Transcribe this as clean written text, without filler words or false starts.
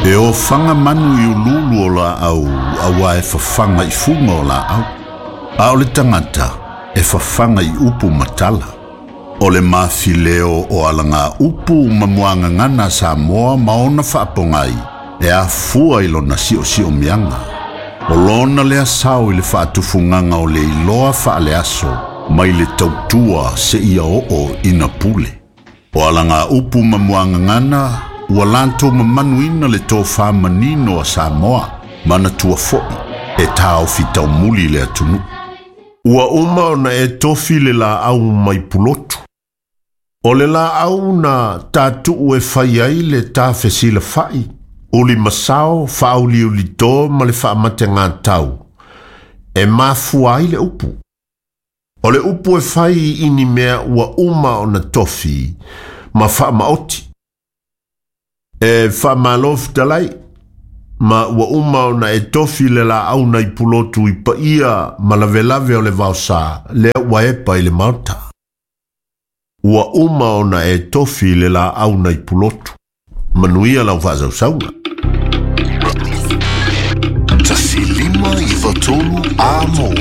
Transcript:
E ofaga manu i uluulu o laau auā e fafaga i fuga o laau. A o le tagata e fafaga i upu ma tala. O le mafileo o alagaupu ma muagagana a Samoa ma ona faapogai e afua i lona siosiomiaga. O lona lea sao i le faatufugaga o le iloa faaleaso mai le tautua seia oo ina pule. O alagaupu ma muagagana ua latou mamanuina le tofa manino a Samoa, manatua foi e taofi taumuli le atunuu. Ua uma ona e tofi le laau mai Pulotu. O le laau na tatuu e fai ai le ta fesilafai, ulimasao, faauliulito ma le faamategatau, e mafua ai le upu. O le upu e fai i ni mea ua uma ona tofi ma faamaoti. E faamalo fetalai, ma ua uma ona e tofi le laau nai Pulotu i paia ma lavelave o le vaosa, lea ua epa i le Maota. Ua uma ona e tofi le laau nai Pulotu. Manuia lau faasausauga. 1593 Amo.